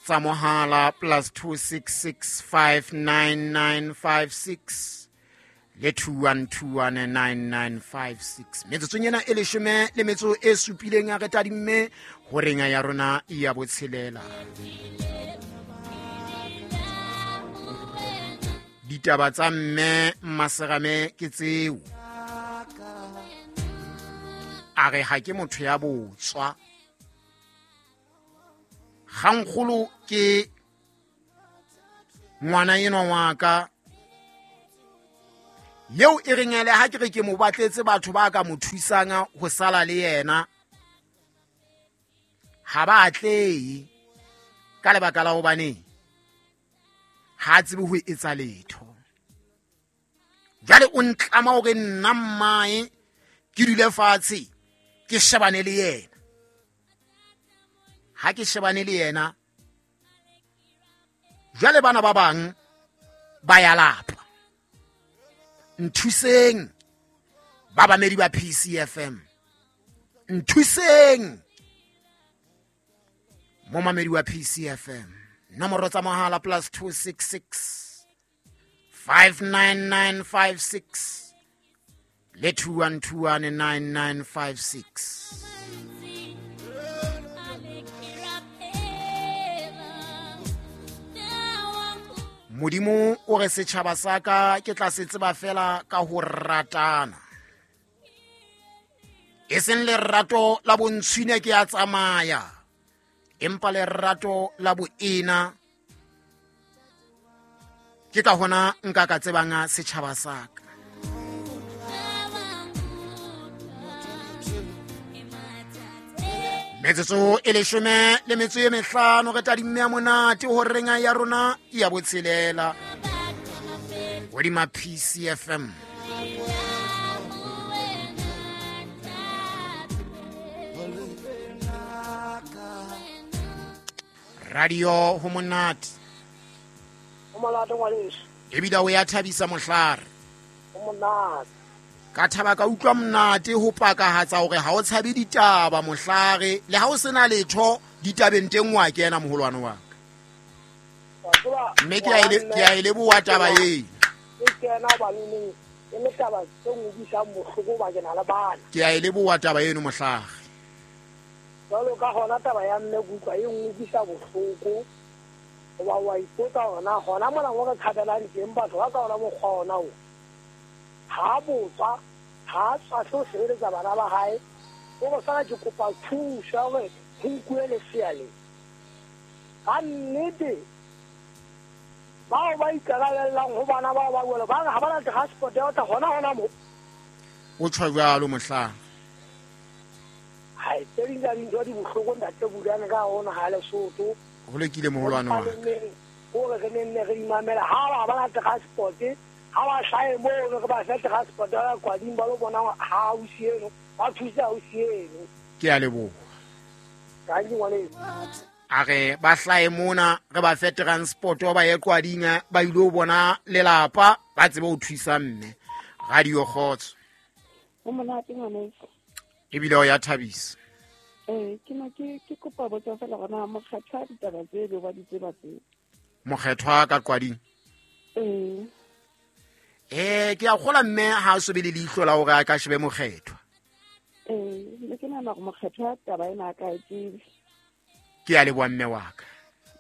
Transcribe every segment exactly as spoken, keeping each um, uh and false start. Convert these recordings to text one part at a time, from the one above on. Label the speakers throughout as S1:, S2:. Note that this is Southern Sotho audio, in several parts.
S1: tsa mohala plus two six six five nine nine five six le two one two one nine nine five six. Metsotsong ena e leshome le metso e supileng a re tadimme horeng ya rona ya botshelela. Ditaba tsa mme Maserame ke tseo. A re ha ke motho ya botswa. Kgankgolo ke ngwana enwa wa ka yeo e reng ele ha ke re ke mo batletse batho ba ka mo thusang ho sala le yena ha ba atlehe ka lebaka la hobane ha tsebe ho etsa letho. Jwale o ntlama hore nna mmae ke dule fatshe ke shebane le yena. Ha ke shebane le yena jwale bana ba bang ba ya lapa. Nthuseng ba bamedi ba P C F M, nthuseng momamedi wa P C F M. Nomoro tsa mohala plus two six six five nine nine five six le two one two one nine nine five six. Modimo o re setjhaba sa ka ke tla se tseba fela ka ho ratana. E seng lerato la bontshwine ke a tsamaya, empa lerato la boena ke ka hona nka ka tsebang setjhaba sa ka. Metsotso e leshome le metso e mehlano re tadimme ya monate ho renga ya rona ya botshelela hodima P C F M. Radio ho monate.
S2: Ho monate ngwaneso.
S1: Ebile o ya thabisa mohlare.
S2: Ho monate.
S1: Ka thaba ka utlwa monate ho pakahatsa hore ha o tshabe ditaba mohlare le ha o sena letho ditabeng teng wa kena moholwane wa ka. Mme ke a ile ke a ile boa taba eo.
S2: Ke kena ba neng e le taba tse ngubisang bohloko ba kena le bana.
S1: Ke a ile boa taba eno mohlare.
S2: Jwalo ka hona taba ya mme kutlwa e ngubisa bohloko. Wa wa ipotsa hona hona mona mo re tshabelang teng batho ba ka hona mokgwa ona o. Ha botswa ha tswa tlo sebeletsa bana ba hae o go sala ke kopa thuso hore ho nkuwe lesea le ka nnete. Bao ba ikarabellang ho bana bao ba jwalo ba re ha ba na transport ya ho tla hona hona mo.
S1: O tjho jwalo mohlang.
S2: Hai tse ding tsa dintho di bohloko ntate Bulane ka hona ha Lesotho.
S1: Ho lokile moholwane wa ka.
S2: Hore re nenne re imamela ha ba ba na transport ha ba hlae mono re ba fe transport ya kwading ba lo bona ha ausi eno ba thusa ausi eno.
S1: Ke a leboha.
S2: Ka ke ngwaneso.
S1: A re ba hlae mona re ba fe transport ba ye kwading ba ile ho bona lelapa ba tsebe ho thusa mme. Radio Kgotso.
S3: Ho monate ngwaneso.
S1: Ebile o ya thabisa.
S3: Eh ke na ke ke kopa botsa fela gona mokgethwa ditaba tse be ba di tseba tse.
S1: Mokgethwa ka kwading.
S3: Eh
S1: Eh ke a kgola mme ha a sobe le leihlo la hore a ka shebe mokgethwa.
S3: Eh le ke nahana hore mokgethwa taba ena a ka e tsebe.
S1: Ke a leboha mme wa ka.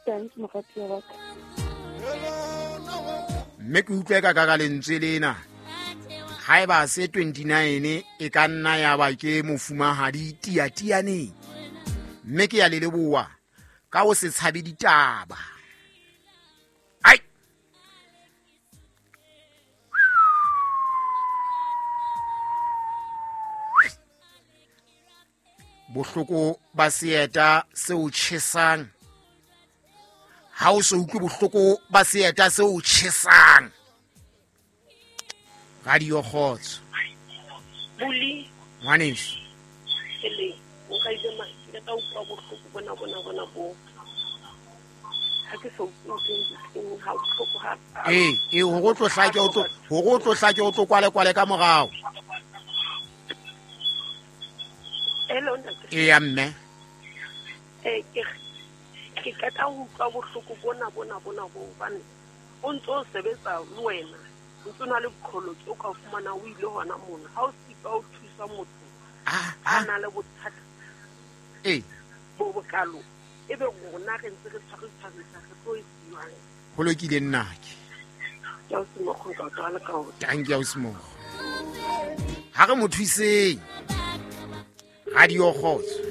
S3: Thanks mokgethwa wa ka.
S1: Mme ke utlwe ka ka lentswe lena. Haeba se twenty-nine e ka nna ya ba ke mofumahadi tiatianeng. Mme ke ya le leboha ka ho se tshabe ditaba. Ai bohloko ba seeta se o tjhesang. Ha o so utlwe bohloko ba seeta se o tjhesang. Radio Kgotso.
S4: Buli.
S1: Ngwaneso.
S4: Ele, o ka ile ma ke ka utlwa bohloko bona bona bona bo. Ha ke so utlwe ha bohloko ha.
S1: Eh, eh hore o tlo hlake o tlo hore o tlo hlake o tlo kwale kwale ka morao.
S4: Hello ntate.
S1: E ya mme.
S4: Eh ke Ke qeta ho utlwa bohloko bona bona bona bo hobane o ntso o sebetsa le wena o ntso na le boqholotsi o ka fumana o ile hona mona ha o sitwa o thusa motho a na le bothata
S1: ee
S4: bo bokalo ebe rona re ntse re tshware tshwarisa re tlo e siwang
S1: ho lokile nnake
S4: ke a o semokgo nka o tlwala ka o
S1: tanki ya o semokgo ha re mo thuseng radio kgotso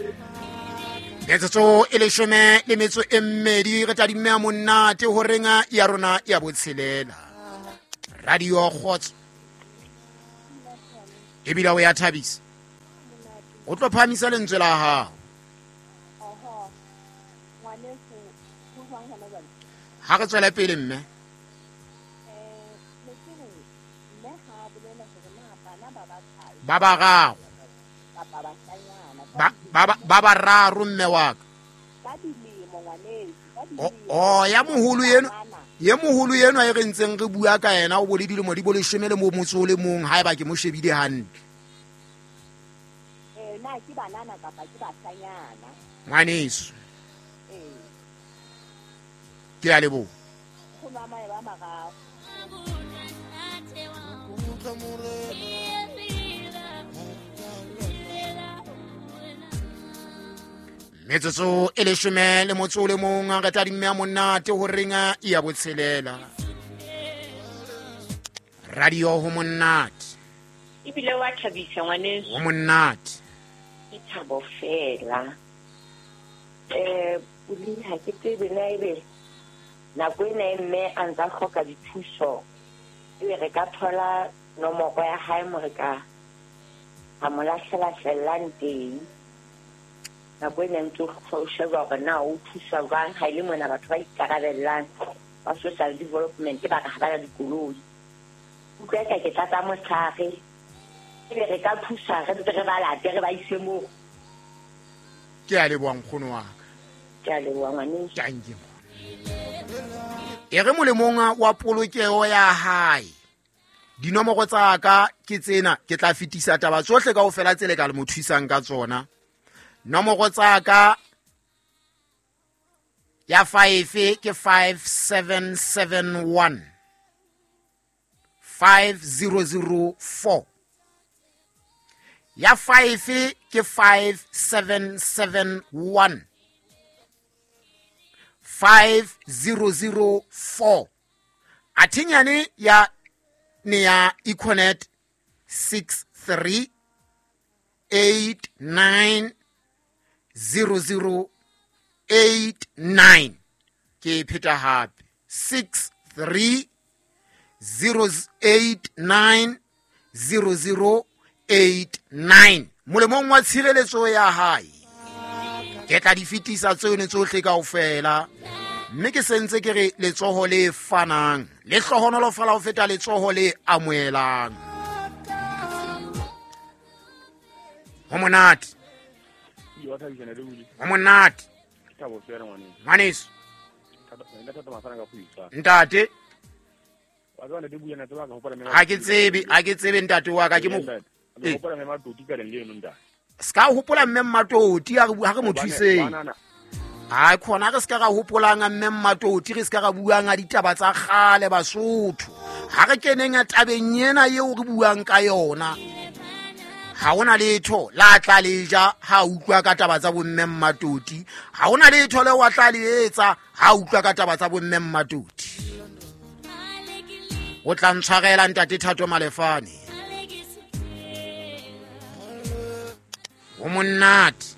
S1: metsotso e leshome le metso e mmedi re tadimme ya monate ho renga ya rona ya botshelela radio kgotso ebile o ya thabisa o tlo phahamisa lentswe la hao ha re tswela pele mme ba bararo ba ba ba bararo mme wa ka o ya moholo eno ye moholo eno e re ntseng re bua ka yena o bole dilemo di bo leshome le mo motso le mong haeba ke mo shebile hantle
S5: eh na ke banana kapa ke bashanyana
S1: ngwaneso
S5: eh
S1: ke a leboha
S5: go mama ba mararo
S1: metsotso e leshome le motso le mong re tadimme ya monate ho renga ya botshelela radio ho monate
S6: ebile wa thabisa ngwaneso
S1: ho monate
S6: ke thabo fela eh puli ha ke tsebe na ebe nako ena e mme a ntsa hloka dithuso ebe re ka thola nomoro ya hae mo re ka a mo lahlela fellang teng nako ena ntse o sheba hore na o thusa jwang ha ile mona batho ba ikarabellang ba social development ba re ha ba na dikoloi utlwa ka ke tlatsa motshare ebe re ka thusa re ntse re ba late re ba ise moo
S1: ke a leboha nkgono wa ka
S6: ke a leboha ngwaneso
S1: tanki e re molemong wa polokeho ya hae dinomoro tsa ka ke tsena ke tla fetisa taba tsohle kaofela tse le ka le mo thusang ka tsona nomoro tsa ka ya five ke five seven seven one five zero zero four ya five ke five seven seven one five zero zero four athinyane ya ne ya Econet six three eight nine zero zero eight nine ke pheta hape six three zero eight nine zero zero eight nine molemong wa tshireletso ya hae ke tla di fetisa tsone tsohle kaofela mme ke sentse ke re letsoho le fanang le hlohonolofala ho feta letsoho le amohelang ho monate ho monate ngwaneso ntate ha ke tsebe ha ke tsebe ntate wa ka ke mo ska hopola mme Mmatoti ha re mo thuseng ha khona re ska ra hopolang mme Mmatoti re ska ra buang a ditaba tsa kgale Basotho ha re keneng tabeng ena eo re buang ka yona ha hona letho la tla le ja ha utlwa ka taba tsa bomme Mmatoti ha hona letho le wa tla le etsa ha utlwa ka taba tsa bomme Mmatoti o tla ntshwarela ntate Thato Malefane ho monate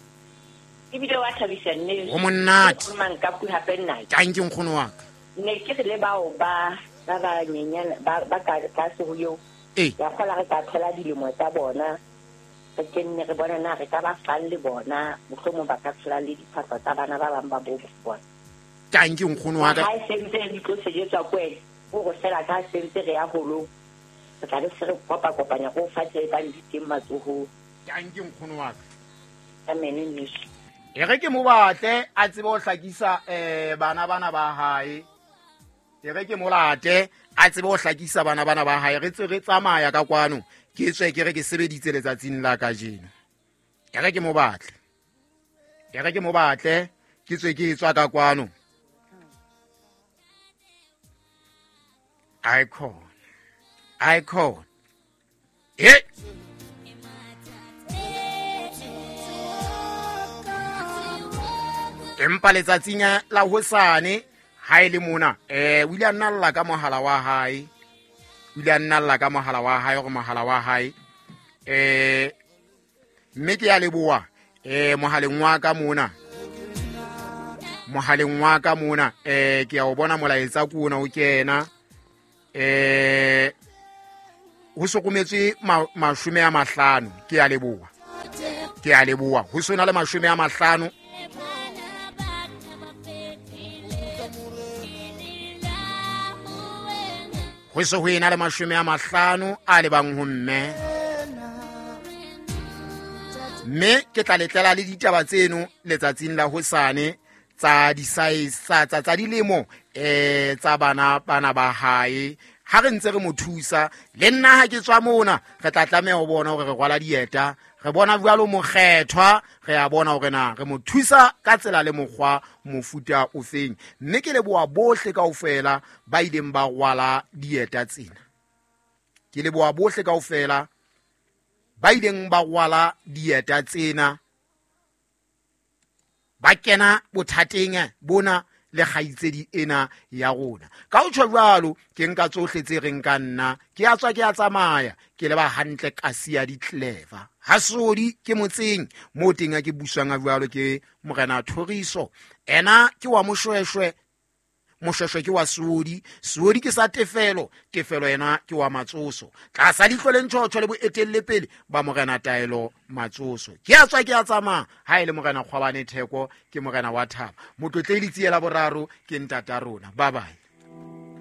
S6: ebile wa thabisa nne
S1: ho monate
S6: mang ka pu hape nna
S1: tanki nkgono wa ka
S6: ne ke re le bao ba ba ba nyenyana ba ba ka tlase ho eo ya kgola re ka thola dilemo tsa bona re kenne re bona na re ka ba fang le bona mohlomong ba ka thola le diphahlo tsa bana ba bang ba bo bona
S1: tanki nkgono wa ka
S6: ha e sentse di tlo sejetswa kwele o go fela ka sentse re ya holong re tla be se re kopa kopanya go fa tse ba di teng matsohong
S1: tanki nkgono wa ka
S6: amen news
S1: e re ke mo batle a tsebe ho hlakisa eh bana bana ba hae e re ke mo late a tsebe ho hlakisa bana bana ba hae re tse re tsamaya ka kwano ke tswe ke re ke sebeditse letsatsing la kajeno e re ke mo batle e re ke mo batle Ke tswe ke tswa ka kwano. Icon. Icon. Eh. Empa letsatsing la hosane ha ile mona eh o ile a nna lla ka mohala wa hae. O ile a nna lla ka mohala wa hae hore mohala wa hae eh mme ke ya leboha eh mohaleng wa ka mona. Mohaleng wa ka mona eh ke ya o bona molaetsa ke ona o kena eh ho sokometswe mashome a mahlano ke ya leboha. Ke ya leboha ho sona le mashome a mahlano. Ho se ho ena le mashome a mahlano a lebang ho mme. Mme ke tla letlela le ditaba tseno letsatsing la hosane tsa di-size tsa tsa dilemo eh tsa bana bana ba hae. Ha re ntse re mo thusa le nna ha ke tswa mona re tla tlameha ho bona hore re rwala dieta, re bona jwalo mokgethwa, re a bona hore na re mo thusa ka tsela le mokgwa mofuta ofeng. Mme ke leboha bohle kaofela ba ileng ba rwala dieta tsena. Ke leboha bohle kaofela ba ileng ba rwala dieta tsena, ba kena bothateng bona le kgaitsedi ena ya rona. Ka ho tjho jwalo ke nka tsohle tse reng ka nna ke a tswa ke a tsamaya ke leba hantle kasi ya di-clever. Hasodi ke motseng mo teng a ke buswang a jwalo ke morena Thoriso. Ena ke wa Moshweshwe, Moshweshwe ke wa Sodi, Sodi ke sa Tefelo, Tefelo ena ke wa Matsoso. Tlasa leihlo le ntjhotjho le boetelle pele ba morena Taelo Matsoso. Ke a tswa ke a tsamaya ha ele morena Kgwabane Theko ke morena wa Thaba. Motlotlehli Tsiela Boraro ke ntata rona. Bye bye.